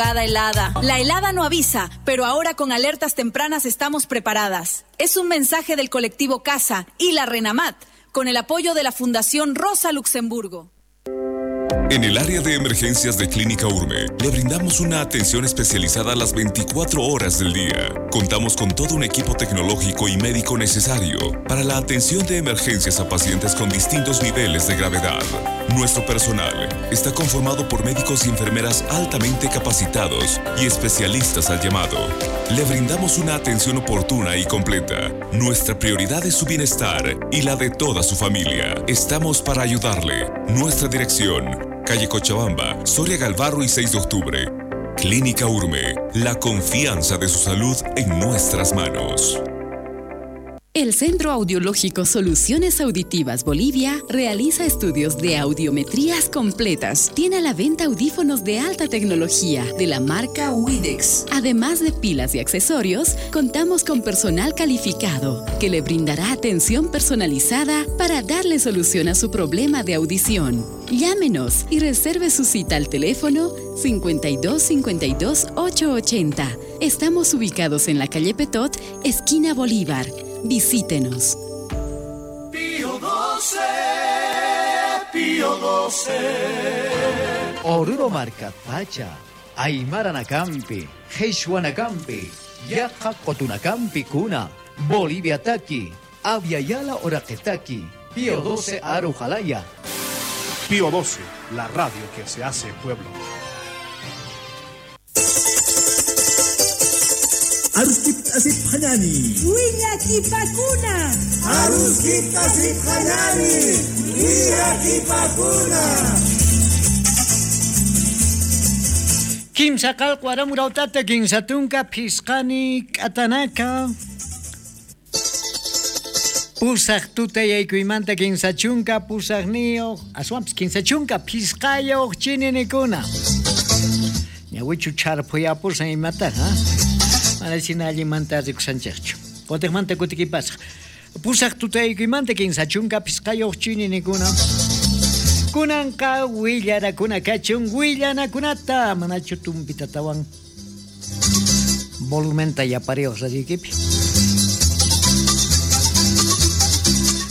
Helada. La helada no avisa, pero ahora con alertas tempranas estamos preparadas. Es un mensaje del colectivo Casa y la Renamat, con el apoyo de la Fundación Rosa Luxemburgo. En el área de emergencias de Clínica Urme, le brindamos una atención especializada a las 24 horas del día. Contamos con todo un equipo tecnológico y médico necesario para la atención de emergencias a pacientes con distintos niveles de gravedad. Nuestro personal está conformado por médicos y enfermeras altamente capacitados y especialistas al llamado. Le brindamos una atención oportuna y completa. Nuestra prioridad es su bienestar y la de toda su familia. Estamos para ayudarle. Nuestra dirección: calle Cochabamba, Soria Galvarro y 6 de octubre. Clínica Urme, la confianza de su salud en nuestras manos. El Centro Audiológico Soluciones Auditivas Bolivia realiza estudios de audiometrías completas. Tiene a la venta audífonos de alta tecnología de la marca Widex. Además de pilas y accesorios, contamos con personal calificado que le brindará atención personalizada para darle solución a su problema de audición. Llámenos y reserve su cita al teléfono 52 52 880. Estamos ubicados en la calle Petot, esquina Bolívar. Visítenos. Pío 12, Pío 12. Oruro Marca Pacha, Aymara Nakampi, Nakampi, Yaqa Qotunacampi Kuna, Bolivia Taki, Aviala Oraqetaki, Pío 12 Arujalaya. Pío 12, la radio que se hace pueblo. Aruskip asip hanani. Willakipakuna. Aruskip asip hanani. Willakipakuna. Kimsa qalqu aramurautata kinsa tunka phisqani k'atanaka. Pusaq tutayaykuymanta kinsa chunka pusaqniyuq aswanpis kinsa chunka phisqayuq chininikuna. Ñawichu charphuyapusan imata, ha? Mana china allinmanta rikusanchikchu. Kutiqmanta kutikipasaq. Pusaq tutaykuymanta kinsa chunka phisqayuq chininikuna. Kunanqa willarakuna kachun willanakunata manachu tumpitatawan volumenta yapariuq radioykipi.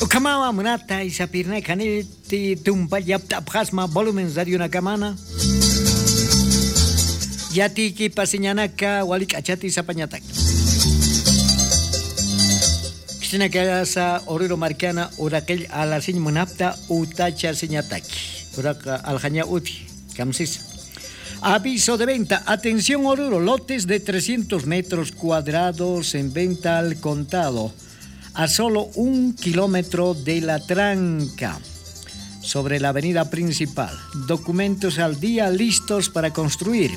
Ukamawa munata isapirna kaniti tumpa yaptapqasma volumen radionakamana. Yatiki pasiñanaka walik'achati sapañatak. Cristina Kayasa Oruro Marcana Uraqil Alasiñ Munapta Utacha Siñataki. Uraqa Aljaña Uti Kamsis. Aviso de venta. Atención Oruro, lotes de 300 metros cuadrados en venta al contado. A solo 1 kilómetro de la tranca, sobre la avenida principal. Documentos al día listos para construir.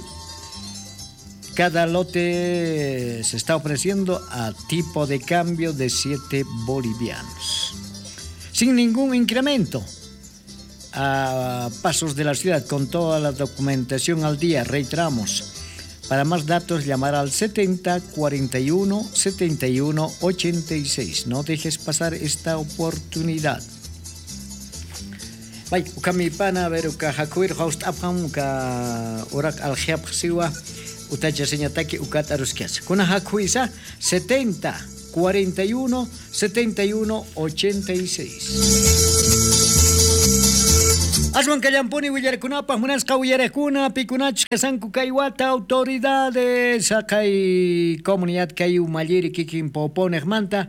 Cada lote se está ofreciendo a tipo de cambio de 7 bolivianos. Sin ningún incremento. A pasos de la ciudad con toda la documentación al día, reiteramos. Para más datos, llamar al 70 41 71 86. No dejes pasar esta oportunidad. Bay, ukamipana ver uka hakuir host aphan uka urak aljiap siwa utacha señataki ukat arusquias. Kuna hakuisa 70 41 71 86. Aswan kallampuni willarkunapaq munasqa willarakuna pikunachus kasanku kay wata autoridades kay comunidad kay umalliri kikin poponejmanta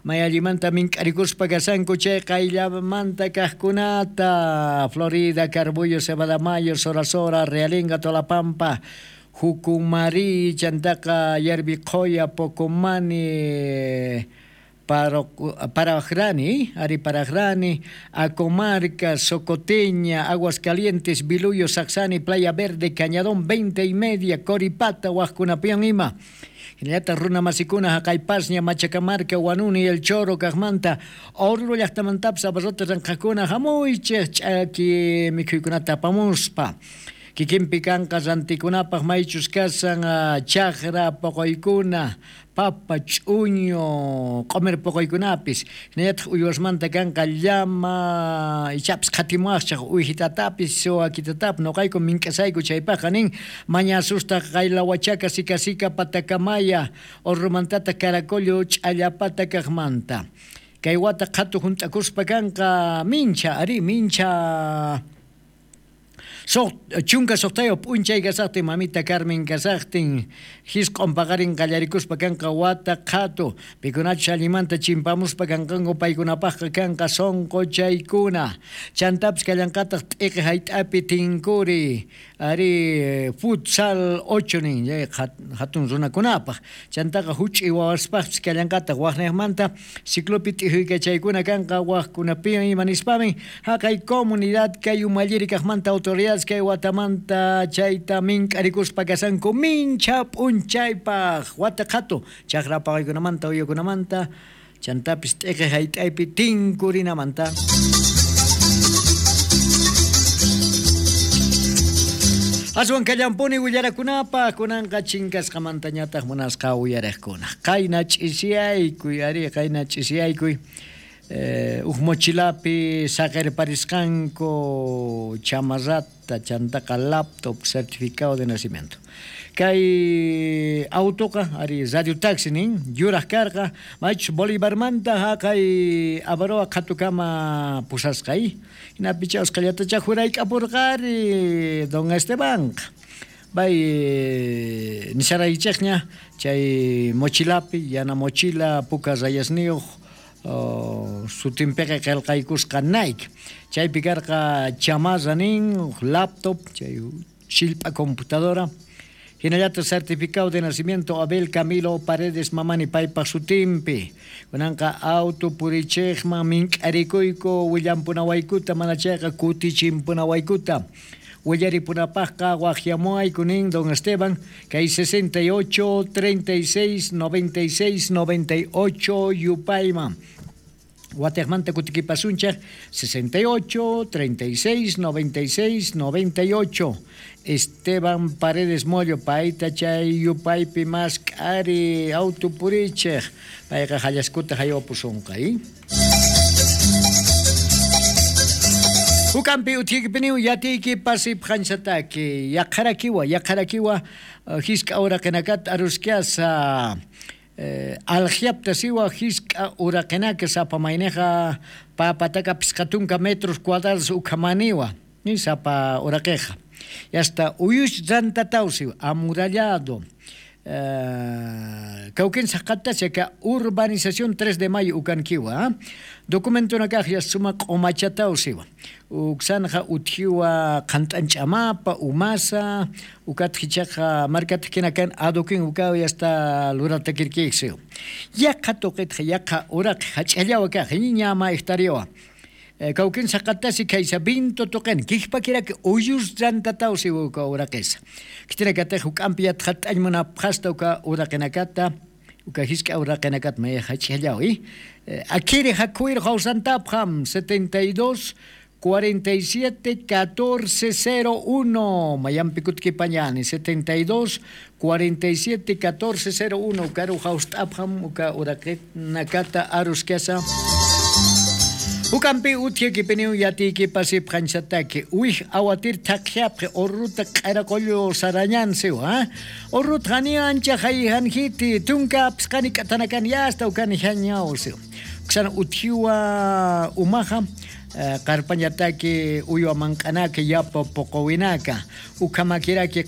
mayallimanta mink'arikuspa kasanku chay qayllamanta kaqkunata Florida, Carbullo, Cebadamayo, Sora Sora, Realenga, Tolapampa, Jucumari, Chantaqa, Yerbiqoya, Pocomani, Paragrani, Ari Paragrani, Acomarca, Socoteña, Aguascalientes, Biluyo, Saxani, Playa Verde, Cañadón, 20 y media, Coripata, Huascunapian, Ima. Hinallataq runa masikuna Haqaypasña, Machacamarca, Huanuni, El Choro, Kaqmanta, Oruro llaqtamantapis abarrote ranqakuna hamuychik ch'aki mikhuykunata apamuspa. Kikinpi kanqa rantikunapaq maychus kasan chaqra poqoykuna, papa, ch'uño, q'omer poqoykunapis. Hinallataq uywasmanta kanqa llama, ichapis qhatimuwaqchaq uyjitatapis, wakitatapis noqayku mink'asayku chaypaqqa nin mañasustaq qaylawachaka sikasika patakamaya orromantataq caracollo ch'allapata kaqmanta. Kay wata qhatu hunt'akuspa kanqa mincha, ari mincha. Chunka soqtayo p'unchay kasaqtin mamita Carmen kasaqtin hisq'on paqarin qallarikuspa kanqa wata qhatu pikunachus allimanta chimpamuspa kanqanku paykunapaqqa kanqa sonqochaykuna chantapis kallanqataq t'iqi hayt'api tinkuri ari futsal 8 nin hatun runakunapaq chantaqa huch'i wawaspaqpis kallanqataq waqniqmanta ciclopi t'ijuykachaykuna kanqa waqkunapi ima nispamin haqay comunidad kay umalliri kaqmanta autoridades kay watamanta chayta mink'arikuspa kasanku mincha p'unchaypaq wata qhatu chaqra paqaykunamanta uyukunamanta chantapis t'iqi hayt'aypi tinkurinamanta. Aswan kallampuni willarakunapaq kunanqa chinkasqamantañataq munasqa uyariqkuna qayna ch'isiyaykuy ari qayna ch'isiyaykuy uj mochilapi saqerparisqanku chamarrata chantaqa laptop certificado de nacimiento. Kay autoqa ari radio taxi nin yuraq karqa maychus Bolivarmanta haqay Avaroa qhatukama pusasqay hinapi chawsqallatacha jurayk'apurqari don Estebanqa bay nisharaychikña chay mochilapi yana mochila puka rayasniyuq sutinpiqa qillqaykusqa Nike chaypi karqa chamarra nin laptop chay shillpa computadora hinallataq certificado de nacimiento Abel Camilo Paredes Mamani paypaq sutinpi kunanqa auto purichiqman mink'arikuyku willampunawaykuta mana chayqa kutichimpunawaykuta willaripunapaqqa waqyamuayku nin don Esteban kay 68 36 96 98 yupayman Watejmanta kutikipasunchaq 68 36 96 98 Esteban Paredes Mollo payta chay yupaypi mask'ari auto purichiq payqa hallaskuta haywapusunqa. Ukampi utiypiniw yatiyki pasip hanchataki yaqharakiwa yaqharakiwa hisk'a uraqinakat aruskiasa aljiapta siwa hisk'a uraqinaka sapa mayneja papataka pisqatunka metros cuadrados ukhamaniwa ni sapa uraqiqa yasta uyush rantatawsiwa amurallado Cauquén Zacatachaka urbanización 3 de mayo ukankiwa documento nakaj yasuma q'umachatawsiwa uksanja utjiwa qhant'anch'amapa umasa ukatjichaqa markatjinakan adoquín ukaw yasta luratakirkiksiw yaqa tuqitqa yaqa uraq hach'allawa kaq ñama hectariawa Cauquén Zacatasi kaysa vinto toqen kikpakirak uyus rantatawsi uka uraqisa kitinakataq huk ampi yatqat'añmuna phasta uka uraqinakata uka hisk'a uraqinakat maya hach'allawi akiri hakuir hawsantapqam 72 47 14 01 Mayampi kutkipañani 72 47 14 01 ukaru hawst'apqam uka uraqinakata aruskasa Ukampi utiyki yatiyki pasip hanchataki uy awatir taqyapqi orruta q'araqollo sarañansiw ha orrut hani ancha hayhanjiti tunka pisqani k'atanakan yasta ukani hañawsiw ksana uthiwa umaja qarpañataki uywa mank'anaka yapa poqowinaka ukamakiraki.